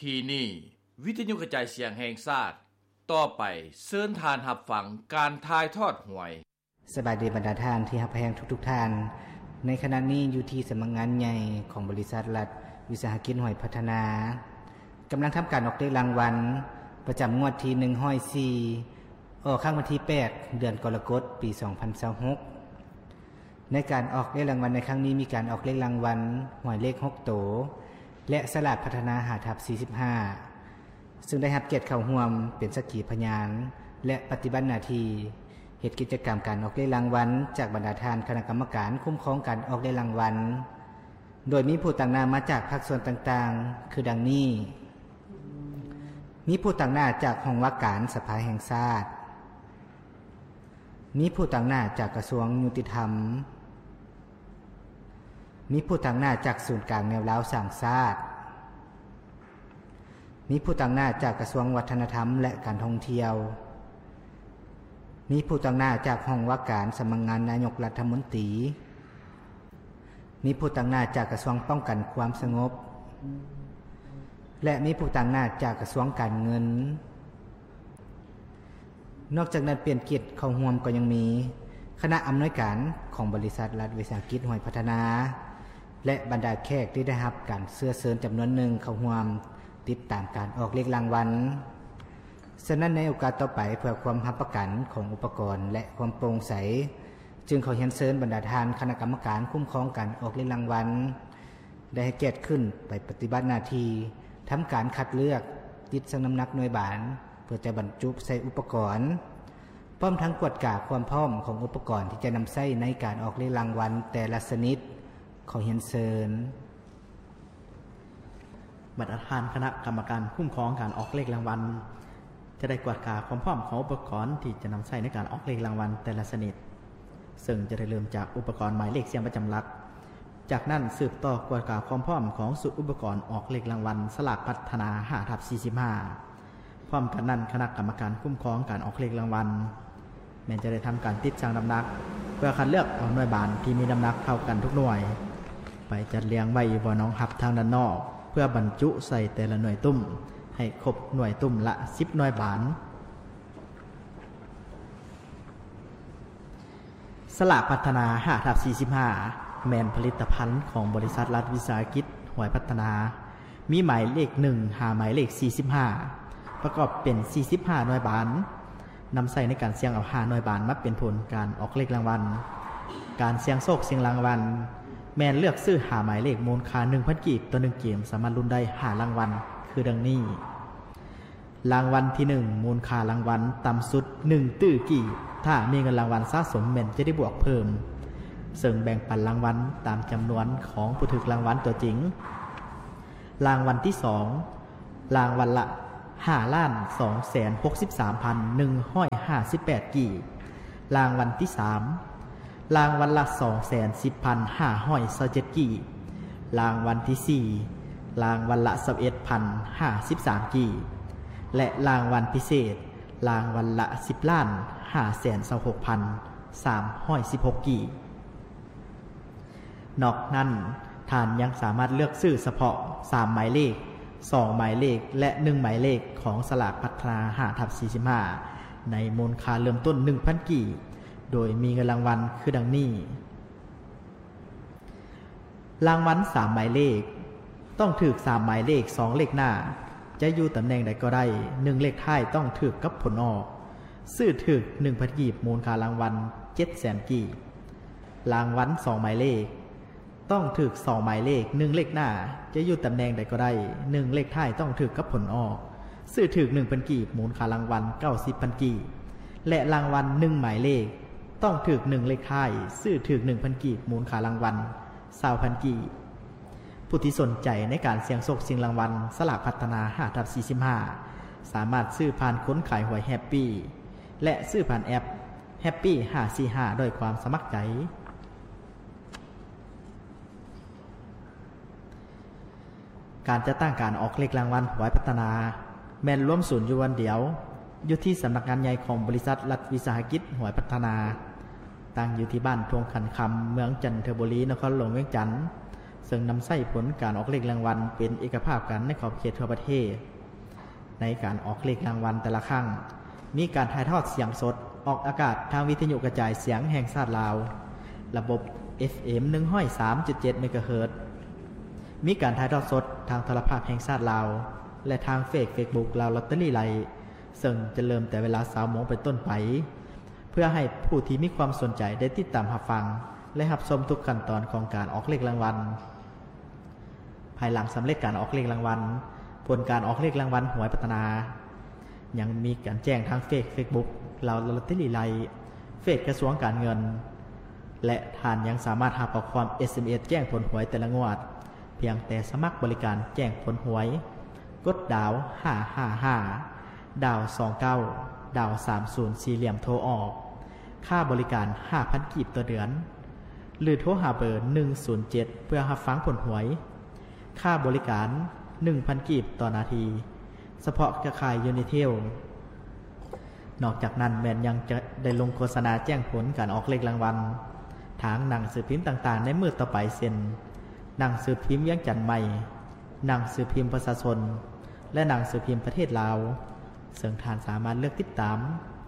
ທີ່ນີ້ ວິທະຍຸກະຈາຍສຽງແຫ່ງຊາດ. ຕໍ່ໄປເຊີນທ່ານຮັບຟັງການຖ່າຍທອດຫວຍ. ສະບາຍດີບັນດາທ່ານທີ່ຮັກແພງທຸກໆທ່ານ. ໃນຂະນະນີ້ຢູ່ທີ່ສຳນັກງານໃຫຍ່ຂອງບໍລິສັດລັດວິສາຫະກິດຫວຍພັດທະນາ ກຳລັງທຳການອອກເລກລາງວັນປະຈຳງວດທີໜຶ່ງຮ້ອຍສີ່ ອອກຄັ້ງວັນທີແປດ ເດືອນກໍລະກົດ ປີສອງພັນຊາວຫົກ. ໃນການອອກເລກລາງວັນໃນຄັ້ງນີ້ ມີການອອກເລກລາງວັນຫວຍເລກຫົກໂຕ ແລະ ສະຫຼາກພັດທະນາ ຫ້າທັບສີ່ສິບຫ້າ ຊຶ່ງໄດ້ຮັບກຽດເຂົ້າຮ່ວມເປັນສັກຂີພະຍານ ແລະ ປະຕິບັດໜ້າທີ່ເຮັດກິດຈະກຳການອອກເລກລາງວັນ ຈາກບັນດາທ່ານຄະນະກຳມະການຄຸ້ມຄອງການອອກເລກລາງວັນ ໂດຍມີຜູ້ຕາງໜ້າມາຈາກພາກສ່ວນຕ່າງໆ ຄືດັ່ງນີ້: ມີຜູ້ຕາງໜ້າຈາກຫ້ອງວ່າການສະພາແຫ່ງຊາດ, ມີຜູ້ຕາງໜ້າຈາກກະຊວງຍຸຕິທຳ, ມີຜູ້ຕາງໜ້າຈາກສູນກາງແນວລາວສ້າງຊາດ, ມີຜູ້ຕາງໜ້າຈາກກະຊວງວັດທະນະທຳ ແລະ ການທ່ອງທ່ຽວ, ມີຜູ້ຕາງໜ້າຈາກຫ້ອງວ່າການສຳນັກງານນາຍົກລັດຖະມົນຕີ, ມີຜູ້ຕາງໜ້າຈາກກະຊວງປ້ອງກັນຄວາມສະຫງົບ ແລະ ມີຜູ້ຕາງໜ້າຈາກກະຊວງການເງິນ. ນອກຈາກນັ້ນ ເປັນກຽດເຂົ້າຮ່ວມກໍຍັງມີຄະນະອຳນວຍການຂອງບໍລິສັດລັດວິສາຫະກິດຫວຍພັດທະນາ ແລະ ບັນດາແຂກທີ່ໄດ້ຮັບການເຊື້ອເຊີນຈຳນວນໜຶ່ງເຂົ້າຮ່ວມຕິດຕາມການອອກເລກລາງວັນ. ສະນັ້ນ ໃນໂອກາດຕໍ່ໄປ ເພື່ອຄວາມຮັບປະກັນຂອງອຸປະກອນ ແລະ ຄວາມໂປ່ງໃສ ຈຶ່ງຂໍຮຽນເຊີນບັນດາທ່ານຄະນະກຳມະການຄຸ້ມຄອງການອອກເລກລາງວັນ ໄດ້ໃຫ້ກຽດຂຶ້ນໄປປະຕິບັດໜ້າທີ່ ທຳການຄັດເລືອກ, ຕິດຊັ່ງນ້ຳໜັກໜ່ວຍບານ ເພື່ອຈະບັນຈຸໃສ່ອຸປະກອນ ພ້ອມທັງກວດກາຄວາມພ້ອມຂອງອຸປະກອນທີ່ຈະນຳໃຊ້ໃນການອອກເລກລາງວັນແຕ່ລະຊະນິດ. ຂໍຮຽນເຊີນ. ບັນດາທ່ານຄະນະກຳມະການຄຸ້ມຄອງການອອກເລກລາງວັນ ຈະໄດ້ກວດກາຄວາມພ້ອມຂອງອຸປະກອນທີ່ຈະນຳໃຊ້ໃນການອອກເລກລາງວັນແຕ່ລະຊະນິດ, ເຊິ່ງຈະໄດ້ເລີ່ມຈາກອຸປະກອນໝາຍເລກສຽງປະຈຳຫຼັກ. ຈາກນັ້ນ ສືບຕໍ່ກວດກາຄວາມພ້ອມຂອງຊຸດອຸປະກອນອອກເລກລາງວັນສະຫຼາກພັດທະນາ ຫ້າທັບສີ່ສິບຫ້າ. ພ້ອມກັນນັ້ນ ຄະນະກຳມະການຄຸ້ມຄອງການອອກເລກລາງວັນ ແມ່ນຈະໄດ້ທຳການຕິດຊັ່ງນ້ຳໜັກ ເພື່ອຄັດເລືອກເອົາໜ່ວຍບານທີ່ມີນ້ຳໜັກເທົ່າກັນທຸກໜ່ວຍ ໄປຈັດລຽງໄວ້ຢູ່ບ່ອນຮອງຮັບທາງດ້ານນອກ ເພື່ອບັນຈຸໃສ່ແຕ່ລະໜ່ວຍຕຸ້ມ ໃຫ້ຄົບໜ່ວຍຕຸ້ມລະສິບໜ່ວຍບານ. ສະຫຼາກພັດທະນາ ຫ້າທັບສີ່ສິບຫ້າ ແມ່ນຜະລິດຕະພັນຂອງບໍລິສັດລັດວິສາຫະກິດຫວຍພັດທະນາ ມີໝາຍເລກໜຶ່ງຫາໝາຍເລກສີ່ສິບຫ້າ ປະກອບເປັນສີ່ສິບຫ້າໜ່ວຍບານ ນຳໃຊ້ໃນການສ່ຽງເອົາຫ້າໜ່ວຍບານມາເປັນຜົນການອອກເລກລາງວັນ. ການສ່ຽງໂຊກຊິງລາງວັນ ແມ່ນເລືອກຊື້ຫ້າໝາຍເລກ ມູນຄ່າໜຶ່ງພັນກີບຕໍ່ໜຶ່ງເກມ ສາມາດລຸ້ນໄດ້ຫ້າລາງວັນ ຄືດັ່ງນີ້: ລາງວັນທີໜຶ່ງ ມູນຄ່າລາງວັນຕ່ຳສຸດໜຶ່ງຕື້ກີບ, ຖ້າມີເງິນລາງວັນສະສົມແມ່ນຈະໄດ້ບວກເພີ່ມ, ເຊິ່ງແບ່ງປັນລາງວັນຕາມຈຳນວນຂອງຜູ້ຖືກລາງວັນຕົວຈິງ. ລາງວັນທີສອງ ລາງວັນລະຫ້າລ້ານສອງແສນຫົກສິບສາມພັນໜຶ່ງຮ້ອຍຫ້າສິບແປດກີບ, ລາງວັນທີສາມ ລາງວັນລະສອງແສນສິບພັນຫ້າຮ້ອຍຊາວເຈັດກີບ, ລາງວັນທີສີ່ ລາງວັນລະຊາວເອັດພັນຫ້າສິບສາມກີບ ແລະ ລາງວັນພິເສດ ລາງວັນລະສິບລ້ານຫ້າແສນຊາວຫົກພັນສາມຮ້ອຍສິບຫົກກີບ. ນອກນັ້ນ, ທ່ານຍັງສາມາດເລືອກຊື້ສະເພາະສາມໝາຍເລກ, ສອງໝາຍເລກ ແລະ ໜຶ່ງໝາຍເລກຂອງສະຫຼາກພັດທະນາ ຫ້າທັບສີ່ສິບຫ້າ ໃນມູນຄ່າເລີ່ມຕົ້ນໜຶ່ງພັນກີບ, ໂດຍມີເງິນລາງວັນຄືດັ່ງນີ້: ລາງວັນສາມໝາຍເລກ ຕ້ອງຖືກສາມໝາຍເລກ ສອງເລກໜ້າ ຈະຢູ່ຕຳແໜ່ງໃດກໍໄດ້ ໜຶ່ງເລກທ້າຍຕ້ອງຖືກກັບຜົນອອກ ຊື້ຖືກໜຶ່ງພັນກີບ ມູນຄ່າລາງວັນເຈັດແສນກີບ. ລາງວັນສອງໝາຍເລກ ຕ້ອງຖືກສອງໝາຍເລກ ໜຶ່ງເລກໜ້າ ຈະຢູ່ຕຳແໜ່ງໃດກໍໄດ້ ໜຶ່ງເລກທ້າຍຕ້ອງຖືກກັບຜົນອອກ ຊື້ຖືກໜຶ່ງພັນກີບ ມູນຄ່າລາງວັນເກົ້າສິບພັນກີບ ແລະ ລາງວັນໜຶ່ງໝາຍເລກ ຕ້ອງຖືກໜຶ່ງເລກທ້າຍ ຊື້ຖືກໜຶ່ງພັນກີບ ມູນຄ່າລາງວັນຊາວພັນກີບ. ຜູ້ທີ່ສົນໃຈໃນການສ່ຽງໂຊກຊິງລາງວັນສະຫຼາກພັດທະນາ ຫ້າທັບສີ່ສິບຫ້າ ສາມາດຊື້ຜ່ານຄົນຂາຍຫວຍແຮັບປີ ແລະ ຊື້ຜ່ານແອັບແຮັບປີຫ້າສີ່ຫ້າ ດ້ວຍຄວາມສະໝັກໃຈ. ການຈັດຕັ້ງການອອກເລກລາງວັນຫວຍພັດທະນາ ແມ່ນລວມສູນຢູ່ບ່ອນດຽວ ຢູ່ທີ່ສຳນັກງານໃຫຍ່ຂອງບໍລິສັດລັດວິສາຫະກິດຫວຍພັດທະນາ, ຕັ້ງຢູ່ທີ່ບ້ານທົ່ງຂັນຄຳ ເມືອງຈັນທະບູລີ, ນະຄອນຫຼວງວຽງຈັນ. ເຊິ່ງນຳໃຊ້ຜົນການອອກເລກລາງວັນເປັນເອກະພາບກັນໃນຂອບເຂດທົ່ວປະເທດ. ໃນການອອກເລກລາງວັນແຕ່ລະຄັ້ງ ມີການຖ່າຍທອດສຽງສົດອອກອາກາດທາງວິທະຍຸກະຈາຍສຽງແຫ່ງຊາດລາວ ລະບົບ ເອຟເອັມ ໜຶ່ງຮ້ອຍສາມຈຸດເຈັດ ເມກາເຮີດ, ມີການຖ່າຍທອດສົດທາງໂທລະພາບແຫ່ງຊາດລາວ ແລະ ທາງເຟສບຸກ ລາວລອດເຕີຣີໄລ ເຊິ່ງຈະເລີ່ມແຕ່ເວລາຊາວໂມງເປັນຕົ້ນໄປ ເພື່ອໃຫ້ຜູ້ທີ່ມີຄວາມສົນໃຈໄດ້ຕິດຕາມຮັບຟັງ ແລະ ຮັບຊົມທຸກຂັ້ນຕອນຂອງການອອກເລກລາງວັນ. ພາຍຫຼັງສຳເລັດການອອກເລກລາງວັນ, ຜົນການອອກເລກລາງວັນຫວຍພັດທະນາ ຍັງມີການແຈ້ງທາງເຟສ ເຟສບຸກ ລາວລອດເຕີຣີໄລ, ເຟສກະຊວງການເງິນ ແລະ ທ່ານຍັງສາມາດຮັບຂໍ້ຄວາມ ເອສເອັມເອສ ແຈ້ງຜົນຫວຍແຕ່ລະງວດ ພຽງແຕ່ສະໝັກບໍລິການແຈ້ງຜົນຫວຍ, ກົດດາວຫ້າຫ້າຫ້າ ດາວສອງເກົ້າ ດາວສາມສູນ ສີ່ຫຼ່ຽມໂທອອກ. ຄ່າບໍລິການຫ້າພັນກີບຕໍ່ເດືອນ ຫຼື ໂທຫາເບີໜຶ່ງສູນເຈັດ ເພື່ອຮັບຟັງຜົນຫວຍ. ຄ່າບໍລິການໜຶ່ງພັນກີບຕໍ່ນາທີ ສະເພາະເຄືອຂ່າຍ Unitel. ນອກຈາກນັ້ນແມ່ນຍັງຈະໄດ້ລົງໂຄສະນາແຈ້ງຜົນການອອກເລກລາງວັນ ທາງໜັງສືພິມຕ່າງໆໃນມື້ຕໍ່ໄປ ເຊັ່ນ ໜັງສືພິມວຽງຈັນໃໝ່, ໜັງສືພິມປະຊາຊົນ ແລະ ໜັງສືພິມປະເທດລາວ, ເຊິ່ງທ່ານສາມາດເລືອກຕິດຕາມ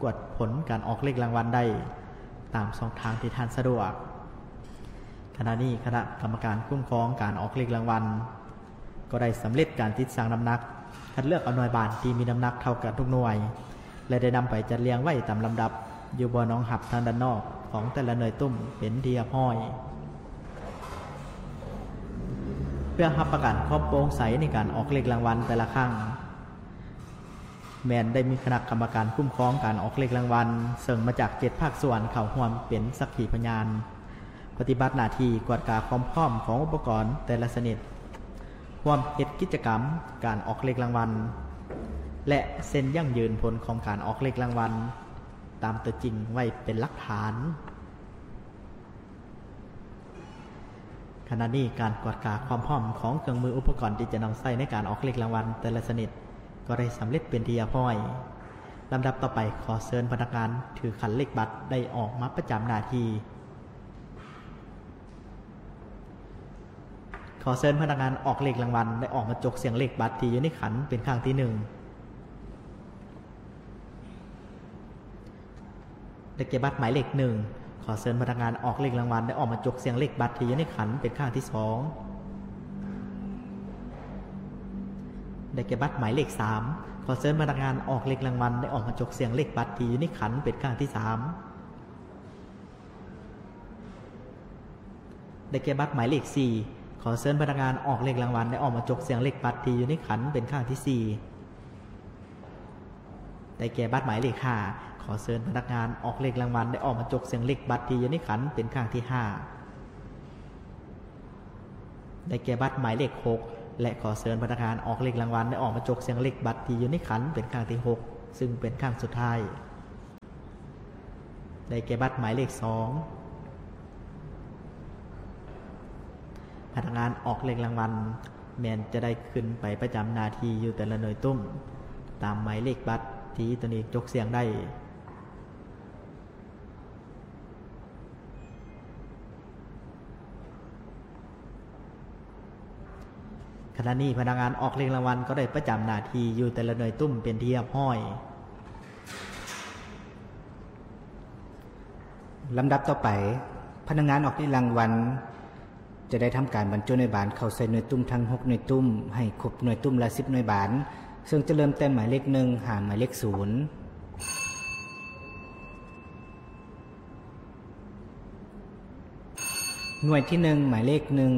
ກວດຜົນການອອກເລກລາງວັນໄດ້ຕາມຊ່ອງທາງທີ່ທ່ານສະດວກ. ຂະນະນີ້ຄະນະກຳມະການຄຸ້ມຄອງການອອກເລກລາງວັນ ກໍໄດ້ສຳເລັດການຕິດຊັ່ງນ້ຳໜັກ, ຄັດເລືອກເອົາໜ່ວຍບານທີ່ມີນ້ຳໜັກເທົ່າກັນທຸກໜ່ວຍ ແລະ ໄດ້ນຳໄປຈັດລຽງໄວ້ຕາມລຳດັບຢູ່ບ່ອນຮອງຮັບທາງດ້ານນອກຂອງແຕ່ລະໜ່ວຍຕຸ້ມເປັນທີ່ຮຽບຮ້ອຍ. ເພື່ອຮັບປະກັນຄວາມໂປ່ງໃສໃນການອອກເລກລາງວັນແຕ່ລະຄັ້ງ, ແມ່ນໄດ້ມີຄະນະກຳມະການຄຸ້ມຄອງການອອກເລກລາງວັນ ເຊິ່ງມາຈາກເຈັດພາກສ່ວນເຂົ້າຮ່ວມເປັນສັກຂີພະຍານ ປະຕິບັດໜ້າທີ່ກວດກາຄວາມພ້ອມຂອງອຸປະກອນແຕ່ລະຊະນິດ, ຮ່ວມເຮັດກິດຈະກຳການອອກເລກລາງວັນ ແລະ ເຊັນຢັ້ງຢືນຜົນຂອງການອອກເລກລາງວັນຕາມຕົວຈິງໄວ້ເປັນຫຼັກຖານ. ຂະນະນີ້ການກວດກາຄວາມພ້ອມຂອງເຄື່ອງມືອຸປະກອນທີ່ຈະນຳໃຊ້ໃນການອອກເລກລາງວັນແຕ່ລະຊະນິດ ກໍໄດ້ສຳເລັດເປັນທີ່ຮຽບຮ້ອຍ. ລຳດັບຕໍ່ໄປ ຂໍເຊີນພະນັກງານຖືຂັນເລກບັດໄດ້ອອກມາປະຈຳໜ້າທີ່. ຂໍເຊີນພະນັກງານອອກເລກລາງວັນໄດ້ອອກມາຈົກສ່ຽງເລກບັດທີ່ຢູ່ໃນຂັນເປັນຄັ້ງທີໜຶ່ງ. ໄດ້ແກ່ບັດໝາຍເລກໜຶ່ງ. ຂໍເຊີນພະນັກງານອອກເລກລາງວັນໄດ້ອອກມາຈົກສ່ຽງເລກບັດທີ່ຢູ່ໃນຂັນເປັນຄັ້ງທີສອງ. ໄດ້ແກ່ບັດໝາຍເລກສາມ. ຂໍເຊີນພະນັກງານອອກເລກລາງວັນໄດ້ອອກມາຈົກສ່ຽງເລກບັດທີ່ຢູ່ໃນຂັນເປັນຄັ້ງທີສາມ. ໄດ້ແກ່ບັດໝາຍເລກສີ່. ຂໍເຊີນພະນັກງານອອກເລກລາງວັນໄດ້ອອກມາຈົກສ່ຽງເລກບັດທີ່ຢູ່ໃນຂັນເປັນຄັ້ງທີສີ່. ໄດ້ແກ່ບັດໝາຍເລກຫ້າ. ຂໍເຊີນພະນັກງານອອກເລກລາງວັນໄດ້ອອກມາຈົກສ່ຽງເລກບັດທີ່ຢູ່ໃນຂັນເປັນຄັ້ງທີຫ້າ. ໄດ້ແກ່ບັດໝາຍເລກຫົກ ແລະ ຂໍເຊີນພະນັກງານອອກເລກລາງວັນໄດ້ອອກມາຈົກສ່ຽງເລກບັດທີ່ຢູ່ໃນຂັນເປັນຄັ້ງທີຫົກ ຊຶ່ງເປັນຄັ້ງສຸດທ້າຍ. ໄດ້ແກ່ບັດໝາຍເລກສອງ. ພະນັກງານອອກເລກລາງວັນແມ່ນຈະໄດ້ຂຶ້ນໄປປະຈຳໜ້າທີ່ຢູ່ແຕ່ລະໜ່ວຍຕຸ້ມ ຕາມໝາຍເລກບັດທີ່ຕົນເອງຈົກສ່ຽງໄດ້. ຂະນະນີ້ພະນັກງານອອກເລກລາງວັນກໍໄດ້ປະຈຳໜ້າທີ່ຢູ່ແຕ່ລະໜ່ວຍຕຸ້ມເປັນທີ່ຮຽບຮ້ອຍ. ລຳດັບຕໍ່ໄປ, ພະນັກງານອອກເລກລາງວັນຈະໄດ້ທຳການບັນຈຸໜ່ວຍບານເຂົ້າໃສ່ໜ່ວຍຕຸ້ມທັງຫົກໜ່ວຍຕຸ້ມ ໃຫ້ຄົບໜ່ວຍຕຸ້ມລະສິບໜ່ວຍບານ, ເຊິ່ງຈະເລີ່ມແຕ່ໝາຍເລກໜຶ່ງຫາໝາຍເລກສູນ. ໜ່ວຍທີໜຶ່ງ ໝາຍເລກໜຶ່ງ.